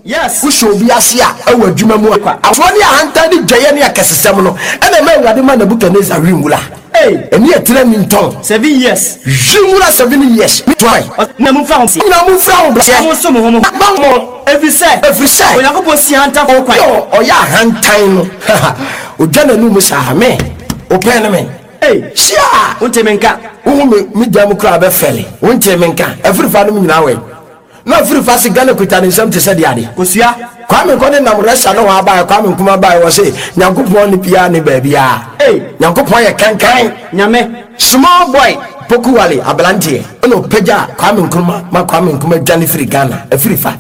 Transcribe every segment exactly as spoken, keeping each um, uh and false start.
Yes. Wohyɛ obi ase a, ɛwɔ adwuma mu a, asoɔ ne ahantan ne dwɛyɛ ne akɛsesɛm no ɛna ɛma Awurade ma Nebukadnezar wi nwura. Hey. Ɛne ɛtena ni ntɔn. Seven years. Wi nwura seven years. Toa. Na momfira ho. Nyina momfira ho Na monsom mo ho mo ho. Ma mo. Ɛfiri sɛ ɛfiri sɛ Onyankopɔn si ahantanfoɔ kwan. Ɔyɛ ɔyɛ ahantan no, ogya n'anum saa me wopɛn ne me. Hey. Hyia. Wonte me nka. Wohu me me gya mu koraa bɛfɛle. Wonte me nka. Afirifa nom nyinaa wɛ na afirifa se Ghana kuta ne nsɛm te sɛ deɛ ade. Kosua. Kwame Nkɔ ne nam rɛsa ne hɔ abaɛ. Kwame Nkrumah baɛ, wɔ se Nyankopɔn ne biaa ne baabiaa. Hey. Nyankopɔn yɛ kankan. Nyame. Small boy Pokuwale aberanteɛ ɛna ɔpagya Kwame Nkrumah ma Kwame Nkrumah dwane firi Ghana. Afirifa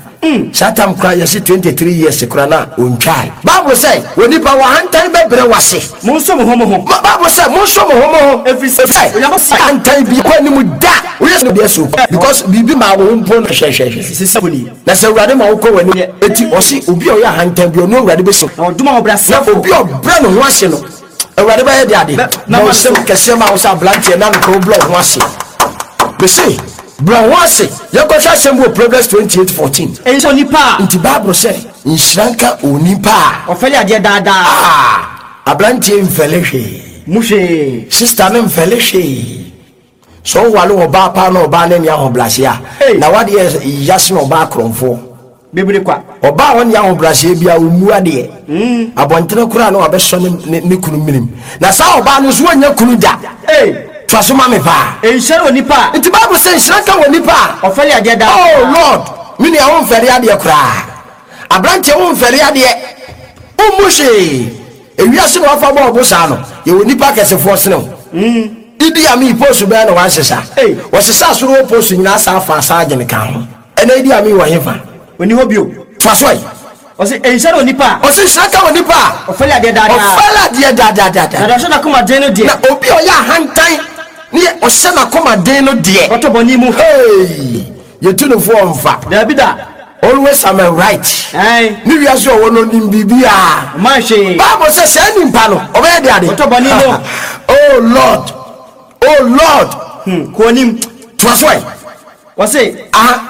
saa tam koraa yɛse twenty-three years koraa na ɔntwae. Bible sɛ onipa wɔhantan bɛbrɛ wase. Monsom mo ho mo ho. Ma Bible sɛ monsom mo ho mo ho. Ɛfiri sɛ Onyankopɔn hantan bi kɔ anim da woyɛ sɛ deɛ so because biribi maa wo ho mpo no hwɛhwɛhwɛ. Sisi ni. Na sɛ Awurade ma wokɔ w'anim eti ɔse obi a ɔyɛ ahantan bi, ɔno Awurade bɛsi Na ɔdom na ahobrɛasefoɔ. Obi a ɔbrɛ ne ho ase no, Awurade bɛyɛ de ade Bɛ- ma mɛma ɔsɛm so. Kɛseɛ ma wo sɛ aberanteɛ na nokɔ wobrɛ wo ho ase. Mese brɛ wo ho ase. Yɛnkɔhwɛ asɛm bi wɔ Proverbs twenty-eight fourteen. Ɛyi sɛ onipa a Nti Bible sɛ nhyira nka onipa a ɔfɛle adeɛ daadaa. Ah, aberanteɛ mfɛle hwee. Mu hwee. Sister no mfɛle hwee. Sɛ wowale ɔbaa paa na ɔbaa no ani ahobrɛaseɛ a, Hey. na wadeɛ yase na ɔbaa korɔmfoɔ. Bebree kwa. Ɔbaa a ɔne ahobrɛaseɛ bi a ɔmmu adeɛ abɔntene koraa na wabɛsɔ ne, ne, ne kunu minim, na saa ɔbaa no nso wɔnyɛ kunu da. Hey. Toa so ma me paa. Ɛnhyira onipa a Nti Bible sɛ nhyira nka wɔ nipa a ɔfɛle adeɛ daadaa. Oh Lord, me nua, womfɛre adeɛ koraa. Aberanteɛ, womfɛre adeɛ, wommu hwee. Ewiase na wafa bɔɔ bo saa no, yɛwɔ nipa kɛsefoɔ sene wo. Idi Amin post bɛɛ na wansesa. Hey. Wɔsesa soro wɔ post nyinaa saa fa saa agyene ka ho. Ɛnɛ Idi Amin wɔ hefa? Ɔni hɔ bio. Toa so ɛ. Ɔsɛ ɛnhyira onipa a Ɔsɛ nhyira ka wɔ nipa a ɔfɛle adeɛ daadaa. Ɔfɛle adeɛ daadaadada. Na deɛ ɔhyɛ n'akoma den no deɛ, Na obi a ɔyɛ ahantan ne yɛ ɔhyɛ n'akoma den no deɛ, ɔtɔ bɔne mu. Hey, yɛtu no foɔ mfa. Daabi da. Always am I right. Ɛn. Ne wiase ɔwɔ no nim biribiaa. Ɔma hwee. Bible sɛ saa nipa no ɔbɛyɛ de ade. Ɔtɔ bɔne mu. Oh Lord, oh Lord. Hmm, kɔ anim. Toa so ɛ. Wɔse Aha.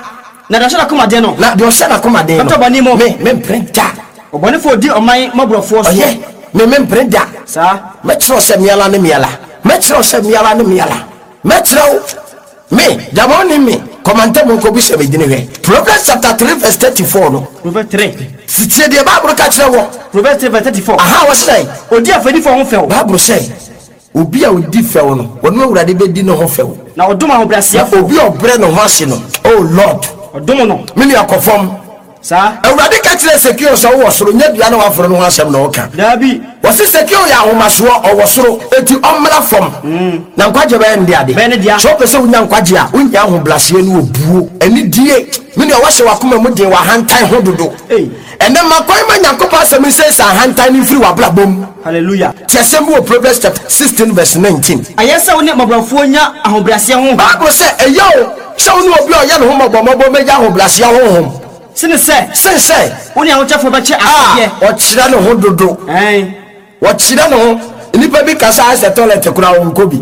na deɛ ɔhyɛ n'akoma den no, Na deɛ ɔhyɛ n'akoma den no, ɔtɔ bɔne mu. Me mempere da. Ɔbɔnefoɔ di ɔman mmɔborɔfoɔ so. Ɔyɛ me mempere da. Saa. Mɛkyerɛw sɛ miala ne miala, mɛkyerɛw sɛ miala ne miala, mɛkyerɛw me gyama ne me kɔmantɛ mu nkɔbi sɛ medini. Hwɛ Proverbs chapter three verse thirty-four no. Proverbs three. Tie deɛ Bible ka kyerɛ wɔ. Proverbs three verse thirty-four. Aha, wɔ sɛ ɔdi afɛdifoɔ ho fɛw. Bible sɛ obi a odi fɛw no, wɔne Awurade bɛdi ne ho fɛw. Na ɔdom Na ahobrɛaseɛfoɔ. obi a ɔbrɛ ne ho ase no, oh Lord, ɔdom no. Me nua, kɔ fam. Saa. Awurade ka kyerɛ Sakeo sɛ wowɔ soro, nyɛ dua na waforo no ho asɛm na ɔka. Daabi. Wɔse Sakeo yɛ ahomasoɔ, ɔwɔ soro, enti ɔmmra fam na nkwagye bɛyɛ ne de ade. Bɛyɛ ne dea. Sɛ wopɛ sɛ wonya nkwagye a, wonya ahobraseɛ ne obuo ɛne die. Me nua, woahyɛ w'akoma mu den, w'ahantan ho dodo. Ei. Ɛnɛ ma kwan ma Nyankopɔn asɛm nsɛ sɛ ahantan no mfiri w'abrabɔ mu. Hallelujah. Ti asɛm bi wɔ Proverbs chapter sixteen verse nineteen. Ɛyɛ sɛ wo ne mmɔborɔfoɔ nya ahobrɛaseɛ honhom Bible sɛ ɛyɛ o sɛ wo ne obi a ɔyɛ ne ho mmɔbɔmmɔbɔ mɛgya ahobraseɛ honhom sene sɛ sen sɛ wo ne ahokyɛfoɔ bɛkyɛ a asadeɛ. Ɔkyerɛ ne ho dodo. Ɛn. Wɔkyerɛ ne ho. Nnipa bi kasa ayɛ sɛ toilet koraa wɔnkɔ bi.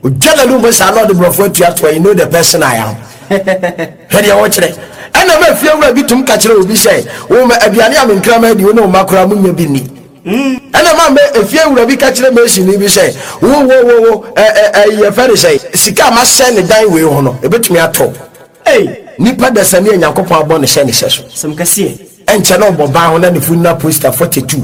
Ogya n'anum mu saa na ɔde borɔfo atuatoa. You know the person I am. Hwɛ deɛ wɔkyerɛ. Ɛna ma fie wura bi tum ka kyerɛ obi sɛ wo ma aduane a menkrama adi, wo ne wo ma koraa munya bi nni. Ɛna ma mɛ efie wura bi ka kyerɛ masoni bi sɛ wo wo wo wo ɛ ɛ ɛ yɛfɛ de sɛ sika a masɛ ne dan wei ho no ebetumi atɔ. Ei. Nipa dasani a Nyankopɔn abɔ ne hyɛ ne hyɛ so. Sɛm kɛseɛ. Ɛnkyɛ na ɔbɔ ban ho na ne funu na poster forty-two,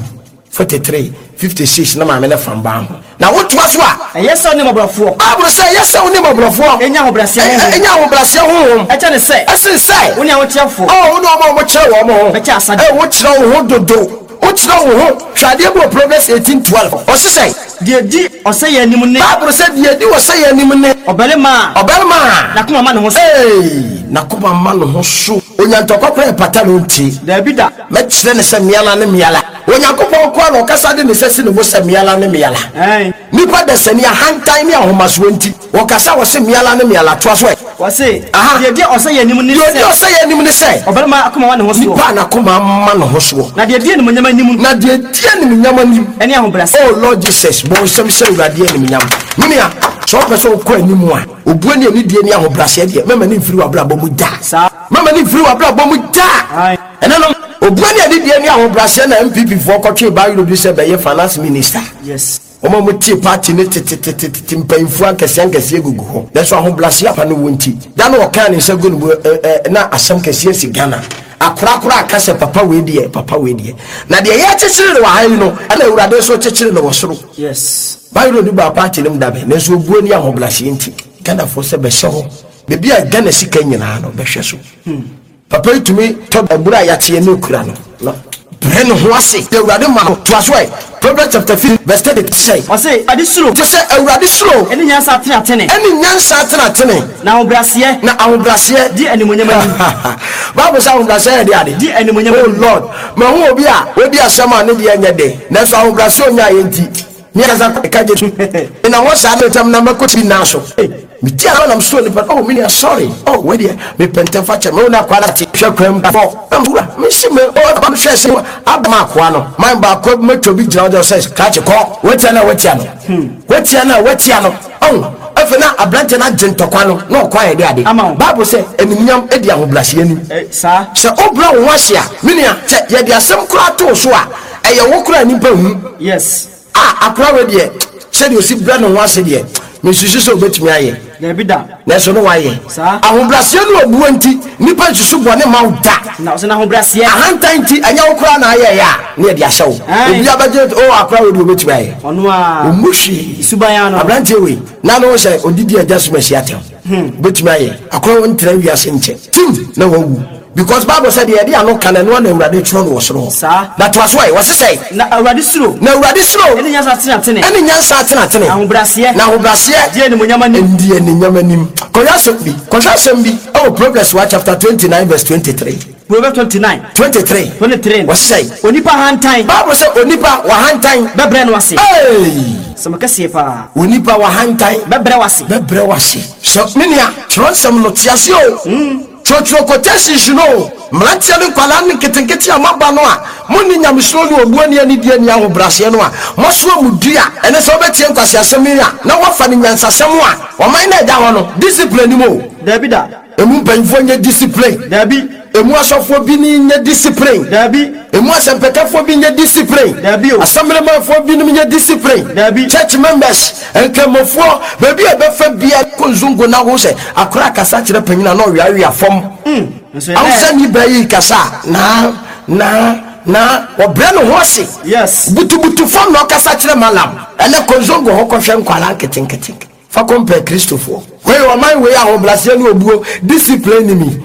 forty-three, fifty-six na maame ne fam ban ho na wotoa so a. Ɛyɛ sɛ wo ne mmɔborɔfoɔ Bible sɛ ɛyɛ sɛ wo ne mmɔborɔfoɔ ɛnya ahobrɛaseɛ honhom ɛnya ahobrɛaseɛ honhom ɛkyɛ ne sɛ ɛsen sɛ wo ne ahokyɛfoɔ ɔ wo ne ɔma a wɔkyerɛ wɔn ho bɛkyɛ asadeɛ. Ɛ wokyerɛ wo ho dodo, wokyerɛ wo ho. Hwɛ adeɛ bi wɔ Proverbs eighteen twelve. Ɔse sɛ deɛ di ɔsɛeɛ anim ne Bible sɛ deɛ di ɔsɛeɛ anim ne ɔbarima a ɔbarima a n'akoma ma ne ho so. Ee, n'akoma ma ne ho so. Onyantɔkwa koraa ɛpata no ntie. Daabi da. Mɛkyerɛ ne sɛ miala ne miala. Onyankopɔn koa na ɔkasa de ne sɛ si ne bo sɛ miala ne miala. Ɛn. Nipa dasani ahantan ne ahomasoɔ nti wɔkasa wɔ se miala ne miala. Toa so ɛ. Wɔse Aha. deɛ di ɔsɛeɛ anim ne Deɛ ɔdi sɛ ɔsɛeɛ anim ne sɛ ɔbarima akoma ma ne ho soɔ. Nipa a n'akoma ma ne ho soɔ. Na deɛ di animuonyam anim Na deɛ di animuonyam anim ɛne ahobrɛaseɛ. Oh Lord Jesus, bɔ nsɛm hyɛ Awurade animuonyam. Menua, sɛ wopɛ sɛ wokɔ anim a, obuo ne anidie ne ahobrɛaseɛ deɛ, mɛma ne mfiri w'abrabɔ mu da. Saa. Mama ne mfiri w'abrabɔ mu daa. Ɛnɛ no obua ne adedie ne ahobrɛaseɛ na N P P foɔ kɔtwee Bayero bi sɛ bɛyɛ finance minister. Yes. Wɔn a wɔtie party ne tetetete mpanyinfoɔ akɛseɛ nkɛseɛ gugu hɔ, nanso ahobrɛaseɛ apa no wɔ nti da na ɔkaa ne nsa gu ne mu ɛ ɛ na asɛm kɛseɛ si Ghana. Akorakora aka sɛ papa wei deɛ, papa wei deɛ, na deɛ yɛkyekyere no wɔ ha yi no, ɛna Awurade nso kyekyere no wɔ soro. Yes. Bayero de ba party no mu dabe, nanso obuo ne ahobrɛaseɛ nti Ghanafoɔ sɛ bɛhyɛ hɔ beebi a Ghana sika nyinaa no bɛhwɛ so. Papa yi tumi tɔ aburo a yɛakyeɛ ne okura no na brɛ ne ho ase. Awurade ma no toa so ɛ. Proverbs chapter fifteen verse thirty sɛ Ɔse ade suro te sɛ Awurade suro ɛne nyansa atenatene ɛne nyansa atenatene na ahobrɛaseɛ na ahobrɛaseɛ di animonyam anim. Bible sɛ ahobrɛaseɛ yɛ de ade Di animonyam Oh anim. Lord, mahu obi a odi asɛm a ne deɛ nyɛ den, nanso ahobrɛaseɛ onya yɛ nti ne kasa ka gye na hɔ saa ne ntam na mɛkɔ ti nan so meti a nam so nipa. Oh, me nua, sorry. Oh, wei deɛ mepɛ ntɛm fa kyɛ me wo na akoa no ate hwɛ kwan mu fɔ wura mesi me oh aba hwɛ sɛ aba ma akoa no man baako mɛtwa bi gyina hɔ sɛ krakye kɔ watia no a watia no, watia no a watia no. Ɔn afei na aberanteɛ no agye ntɔkwa no na ɔkɔ ayɛ de ade. Ama wo. Bible sɛ animuonyam di ahobrɛaseɛ anim. Eh, saa. Sɛ wobrɛ wo ho ase a, me nua, sɛ yɛde asɛm koraa too so a, ɛyɛ wo koraa nnipa hu. Yes. A akora wei deɛ, sɛdeɛ osi brɛ ne ho ase deɛ, mesusu sɛ wobɛtumi ayɛ. Dabi da. Nanso ne wayɛ. Saa. Ahobrɛaseɛ ne obuo nti nnipa nsusu bɔne ma wo da. Na ɔsɛ n'ahobrɛaseɛ Ahantan nti ɛnyɛ wo koraa na ayɛyɛ a ne yɛde ahyɛ wo. Aye. Obi abɛgye o, akora wei deɛ wobɛtumi ayɛ. Ɔno a ɔmu hwee. Suban ano. Aberanteɛ wei na ne wo sɛ ɔdidi agya som asi atɛm wobɛtumi ayɛ. Akora wo ntena wiase nkyɛ tim na wawu, because Bible sɛ deɛ yɛde ano ka no, ɛno ana Awurade twerɛ no wɔ soro hɔ. Saa. Na toa so ɛ, wɔse sɛ Na Awurade suro na Awurade suro ɛne nyansa atenatene ɛne nyansa atenatene ahobrɛaseɛ na ahobrɛaseɛ di animonyam anim. Ndi animonyam anim. Kɔhwɛ asɛm bi, kɔhwɛ asɛm bi ɛwɔ Proverbs one chapter twenty-nine verse twenty-three. Proverbs twenty-nine twenty-three. twenty-three. Wɔse sɛ Onipa hantan Bible sɛ onipa wahantan bɛbrɛ no ase. Hey! Sɛm kɛseɛ paa. Onipa wahantan bɛbrɛ wase. Bɛbrɛ wase. Sɛ me nua, twerɛnsɛm no te ase o, twerɛtwerɛ quotations no o. Mmeranteɛ ne nkwalaa ne nketenkete a moaba no a monni nyamesuro ne obuo ne anidie ne ahobrɛaseɛ no a moasoa mu dua ɛne sɛ wobɛtie nkwaseasɛm yi a na woafa ne nyansasɛm a ɔman no ɛda hɔ no, discipline ni mu o. Dabi da. Emu mpanyinfoɔ nyɛ discipline. Dabi. Emu asɔfoɔ bi ni nyɛ discipline. Dabi. Emu asɛmpɛkɛfoɔ bi nyɛ discipline. Dabi o. Assemblymanfoɔ binom nyɛ discipline. Dabi. Church members, nkramofoɔ, baabi a ɛbɛfa bia kɔ nzongo na ho sɛ akora kasa kyerɛ panyin a na ɔweawea fam. Nso Awusa ni bɛyi yi kasa a, na na na ɔbrɛ ne ho ase. Yes. Butubutu fam na ɔkasa kyerɛ malam. Ɛnɛ kɔ nzongo hɔ kɔhwɛ nkwalaa nketenkete fa kɔmpɛ Kristofoɔ wei. Ɔman wei ahobrɛaseɛ ne obuo discipline ni mi.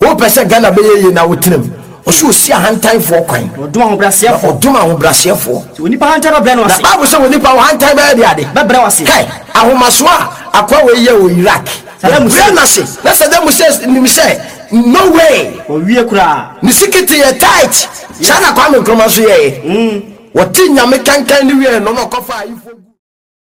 Wopɛ sɛ Ghana bɛyɛ yie na wotenam ɔsɛ ɔsi ahantanfoɔ kwan. Ɔdom ahobrɛaseɛfoɔ. Ɔdom ahobrɛaseɛfoɔ. Sɛ onipa hantan bɛbrɛ no Na ase. Bible sɛ onipa wahantan bɛyɛ de ade. Bɛbrɛ wase. Kai ahomaso a akoa wei yɛ wɔ Iraq. Saddam Hussein. Brɛ n'ase na Saddam Hussein nim sɛ no way. Ɔwie koraa. Ne sikiti yɛ tight saa na Kwame Nkrumah nso yɛɛ. Wɔte Nyame kankan ne wie no na ɔkɔfa ayifoɔ.